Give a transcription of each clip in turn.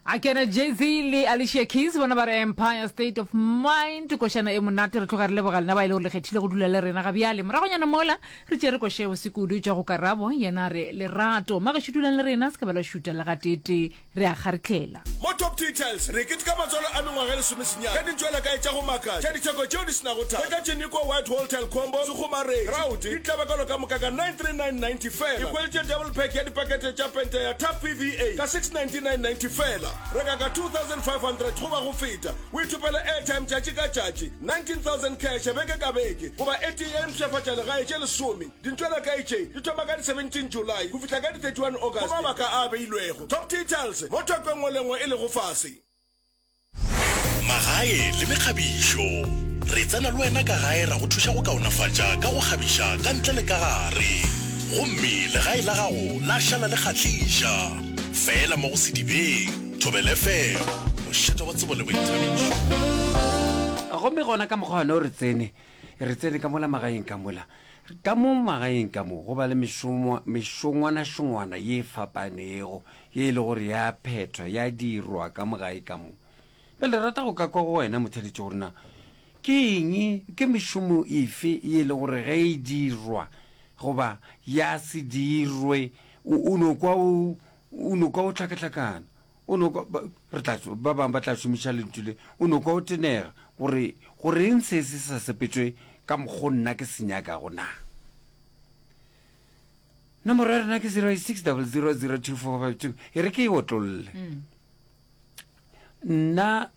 A kena Jay-Z le Alicia Keys bona ba re Empire State of Mind, košana e monate. Re tloga re leboga lena ba e le gore le kgethile go dula le rena ga bjale. Moragonyana mola re tšere koša ya bose kudu tša go Karabo, yena a re Lerato. Magešo dulang le rena, se ka ba la šuta le gateetee, re a kgarihlela. Mo Top Details, re keteka matswalo a mengwaga e lesomesenyane ka dintšwelakae tša go makatša tša ditheko tšeo di se nago thata. Hwetša Tšenikwa White Whole Combo, Sekgomaredi, Grout, ditlabakelo ka moka ka 939.90 fela. Ikhweletše double pack ya dipakete tša pente ya Tough PVA ka 699.90 fela. Reka ka 2500 goba go feta, o ithopele airtime tšatši ka tšatši, 19000 cash beke ka beke, goba e tee ya dimpshafatša legae tše lesome. Dintšwelakae tše di thoma ka di 17 July go fihla ka di 31 August go mabaka a a beilwego. Top Details mo theko e nngwe le nngwe e lego fase. Magae le mekgabišo. Re tsena le wena ka gae ra go thuša go kaonafatša ka go kgabiša ka ntle le ka gare. Gomme legae la gago la šala le kgahliša. Feela mo go Sedibeng, Thobela FM, mošate wa tsebo le boithabišo. Gomme gona ka mokgwa wona o re tsene, re tsene ka mola magaeng ka mola. Ka mo magaeng ka mo go ba le mešomo, mešongwanašongwana ye e fapanego ye e le gore ya phethwa, ya dirwa ka mo gae ka mo. Bjale re rata go ka kwa go wena motheeletši gore na ke eng, ke mešomo efe ye e le gore ge e dirwa goba ya se dirwe o, o no kwa o, o no kwa o hlakahlakana. O no kwa, ba, re tla, ba bangwe ba tla šomiša lentšu le, o no kwa o tenega, gore, goreng se se sa sepetšwe ka mokgo nna ke se nyakago na? Nomoro ya rena ke 0600024452. E re ke e otlolle. Nna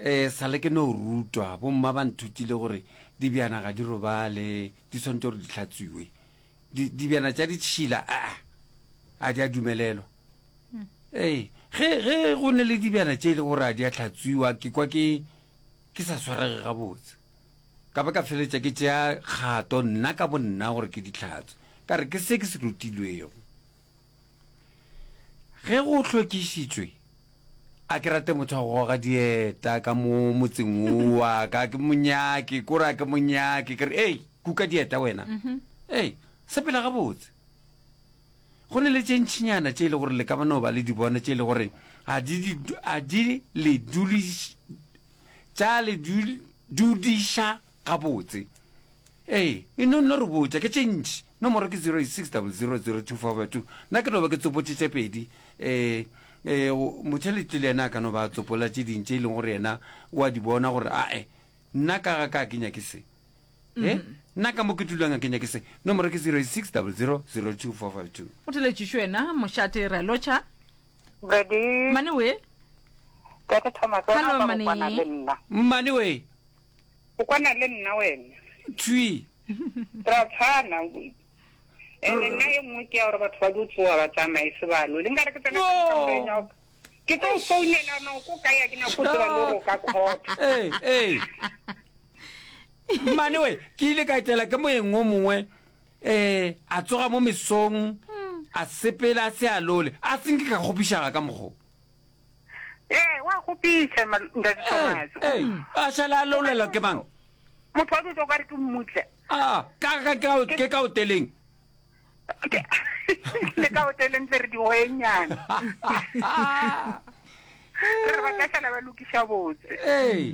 um sa le ke no rutwa, bomma ba nthutile gore dibjana ga di robale, di swanetše gore di hlatswiwe. Di, dibjana tša ditšhila, aa, a di a dumelelwa. Ee, ge, ge go ne le dibjana tše e le gore a di a hlatswiwa, ke kwa ke, ke sa swarege gabotse. Ka ba ka feleletša ke tšea kgato nna ka bonna gore ke di hlatswe. Ka re ke se ke se rutilwego. Ge go hlwekišitšwe, a ke rate motho wa go goga dieta ka mo motseng wo wa ka, ke mo nyake, kore a ke mo nyake, ke re, Ei, kuka dieta wena. Ei, sepela gabotse. Go ne le tše ntšinyana tše e le gore le ka ba no ba le di bona tše e le gore ga di a di le duliš tša le dudiša gabotse. Ee, e no nno re botša ke tše ntši. Nomoro ke 086 00 02 452. Nna ke no ba ke tsopotše tše pedi. Ee, ee, motheletši le yena a ka no ba a tsopola tše ding tše e leng gore yena o a di bona gore ae, nna ka ga ka ke nyake se. E nna ka mo ke dulang a ke nyake se. Nomoro ke 086 00 02 452. O theletšišo wena mošate re a lotšha. Ready. Mmane we. Tate Thomas, wena Hello, o ka go Mmane. kwana le nna. Mmane we. O kwana le nna wena. Thwi. Ra tshwana. Ene nna e nngwe ke ya gore batho ba dio tsoga ba tsamaye sebalo. Le nkare ke tsena ka kamoreng ya go Ke tlo founela no ko kae a ke nyako tseba le gore o ka court. Ee, ee. Mmane we, ke ile ka etela ke moeng o mongwe um a tsoga mo mesong a sepela a se a lole a se nke ka kgopišaga ka mokgo. Ee, wa kgopiša ntate Thomas. Ee, a šala a lolelwa ke mang? Motho wa dutse o ka re ke mmutle. A, ka ka ka ke ka hoteleng. Le ka hoteleng tle re dihoenyana. Re re ba tla šala ba lokiša botse. Ee.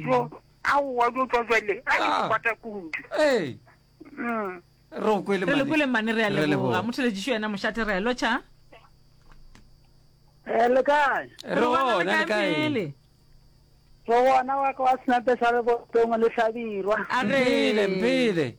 Aowa, o tlo tšwa jwale. A ke ah. kwata kudu. Ee. Mm. Re go kwele Re le kwele mane re a leboga. Motheletšišo yena mošate re a lotšha. Eh, le kae? Re gona le kae? Re gona wa ka wa senape sa lebotong le hlabirwa. Mphele, mphele.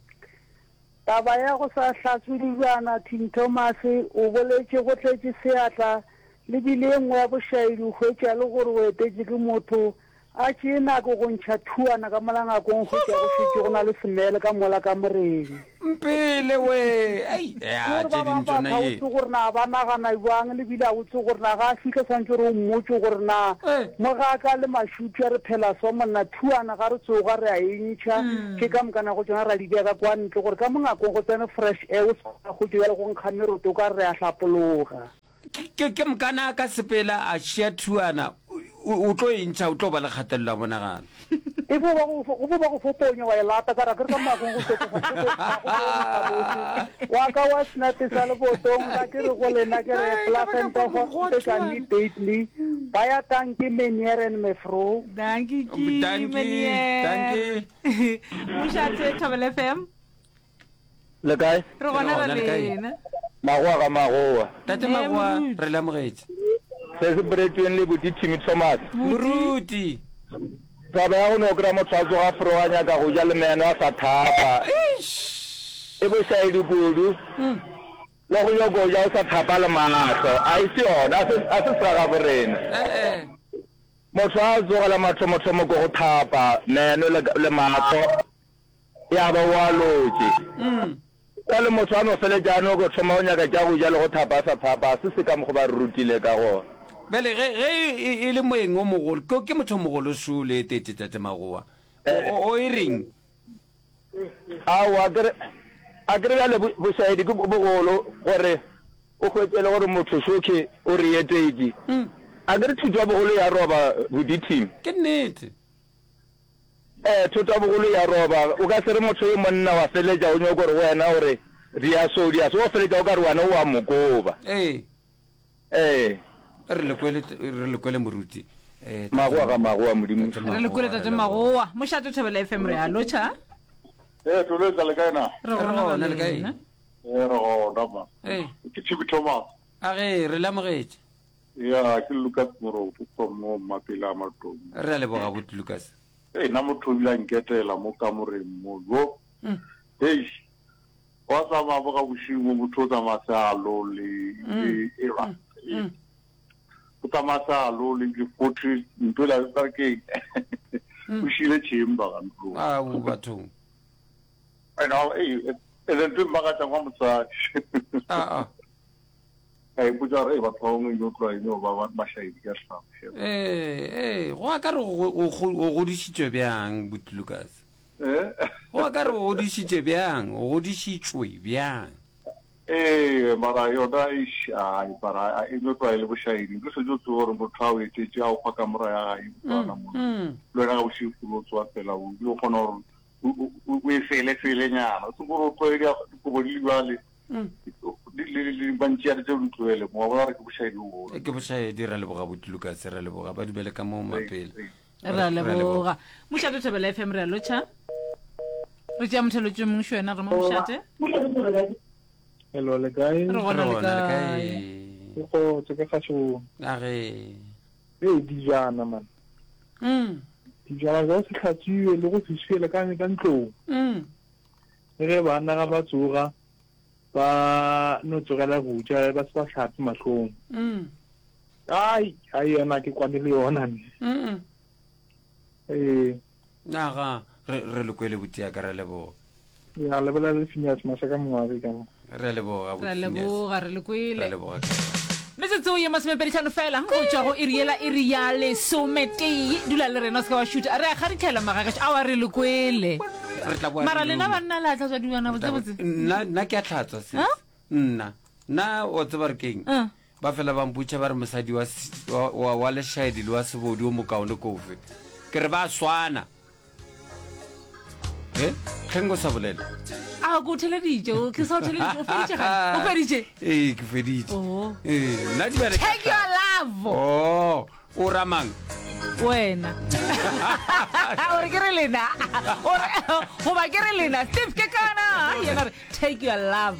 Taba ya go sa hlatswe dijana, Tim Thomas o boletše go tletše seatla le bile e nngwe ya bošaedi o hwetša le gore o etetše ke motho a tšee nako go ntšha thuana ka mola ngakong hwetša go šetše go na le semele ka mola kamoreng. Mpele we, ei, ya, Gore tše ba ding bangwe tšona batho ga o ye. tsebe gore na ba nagana bjang le bile ga o tsebe gore na ga a fihla swantše gore o mmotše gore na mogaka le mašupša re phela so monna thuana ga re tsoga re a e ntšha tše ka moka na go tšona ra di bea ka kwa ntle gore ka mo ngakong go tsene fresh air o se ka hwetša bjale go nkga meroto o ka re re a hlapologa. Ke, ke mokana a ka sepela a šia thuana, o, o tlo e ntšha, o tlo ba le kgatelelo ya monagano. E fo ba go, go fo ba go fo ponya wa e lata ka ra ke re ka moagong go fetoga, go tlo, ga go tlo nkga bose. Wa ka wa senape sa lebotong, ga ke re go lena ke re Ai, ka ba ka Plafenta kwa Hospital mogotlwane. immediately. Baie dankie meneer en mevrou. Dankie ki Dankie, meneer. dankie. Mošate Thobela FM. Le kae? Re gona Re ra gona, le kae? lena. Magoa ga magoa. Tate Eh, Magoa, moruti. re le amogetše. Se se boletšweng le buti Timmy Thomas. Moruti. Taba ya go no kry-a motho a tsoga fro a nyaka go ja le meno a sa thapa. E bošaedi kudu. Le go nyoko ja o sa thapa le mahlo. A e se yona, a se a se segagabo rena. Eh-eh. Motho a tsoga la mathomothomo ko go thapa meno le le mahlo. Ya ba o a lotše. Bjale motho a no feletša a no ko thoma go nyaka tša go ja le go thapa a sa thapa, a se se ka mokgo ba re rutile ka gona. Bjale ge, ge e, e le moeng o mogolo, ke, ke motho o mogolo šo le etetše Tate Magowa. O, o, o e reng? Aowa, a ke re, a ke re bjale bo, bošaedi ke bogolo gore o hwetše e le gore motho šohle o re etetše. A ke re thuto ya bogolo ya roba boditing. Ke nnete. Ee, thoto ya bogolo ya roba. O ka se re motho yo monna wa feletša o nyoko gore go wena o re dia so dia so, wa feletša o ka re wena o a mo koba. Ee. Ee. Re le kwele, re le kwele moruti. Eh, tate Magoa ga magoa Modimo. Tate Re le kwele Magoa, tate re leboga. Magoa. Mošate Thobela FM re a lotšha. Ee, Tolwetsa le kae na? Re Re gona gona, ra le kae? lena. Ee, re gona ma. Ee. Ke Chibi Thomas. A ge, re le amogetše. Ya, ke Lucas Moropo from mo Mmapele a Matomo. Re a leboga bot Lucas. Ee, nna motho o bile a nketela mo kamoreng mo. Yo. Eish. Wa tsamaya mo ga bošego mo motho o tsamaya se a lole. E ba. O tsamaya se a lole ebile forty ntho ela ba re ke eng? O šile chamber ga ntlong. Ao bathong. And ei, and then ntho e mmakatšang wa mosadi. Ah ah. Ka ipotša gore, Ei, batho ba bangwe yo tloga e no ba mašaedi ka hlago. Ee, ee, go a ka re o, o, o godišitšwe bjang, Buti Lukas? Eh? Go a ka re o godišitše bjang, o godišitšwe bjang? Ee, mara yona, eish, ai, mara e no tloga e le bošaedi. Ke šetše o tseba gore motho a o etetše, a o fa kamora ya gae, ntlwana mo. Le wena ga bošego o tsoga fela, o bile o kgona gore o, o, o e fele-felenyana. O se gore o tloge dikobo di le bjale. Mantšiane tšeo di tlohele mo, wa bona gore ke bošaedi bo bogolo. Ke bošaedi, ra leboga Buti Lukas, ra leboga. Ba dumele ka mo mapele. Re a leboga. Mošate Thobela FM re a lotšha. Re tšea motheletši o mongwe šo wena re mo mošate. Hello, le kae? Re gona le kae? Ke kgotso, ke kgašong. A ge. Ee, dijana man. Mm. Dijana tsa go se hlatswiwe le go se swiele ka ka ntlong. Mm. Le ge banna ga ba tsoga ba no tsogela go ja ba se ba hlape mahlong. Mm. Ai, ai yona ke kwane le yona ne. Mm. Ee. Naga re re le kwele botia ka re leboga. Ya le bolela le Phineas Masaka Mongwabi ka mo. Re a leboga Re a leboga, re le kwele. Re a leboga. Metsotso ye masomepeditlhano fela go tšwa go iri yela iri ya lesometee. Dula le rena o se ka wa šutha. Re a kgarithela magagešo. Aowa re le kwele. Re tla boa Mara re lena loma. banna le a hlatswa dilwana Re tla boa- botsebotse. Nna nna ke a hlatswa sis. Huh? Nna nna o tseba re keng? Uh. Ba fela ba mpotša ba re mosadi wa wa, wa, wa lešaedi le wa sebodu o mokaone ke ofe. Ke re ba swana. He? Hleng o sa bolela? A ko theleditše, o ke sa o theleditše, o feditše gane? O feditše? Ee, ke feditše. Oh. Ee, nna di bjale ka Take your love. Oh, o ra mang? Wena. O re ke re lena. O re goba ke re lena. Steve ke kana. Yena re take your love.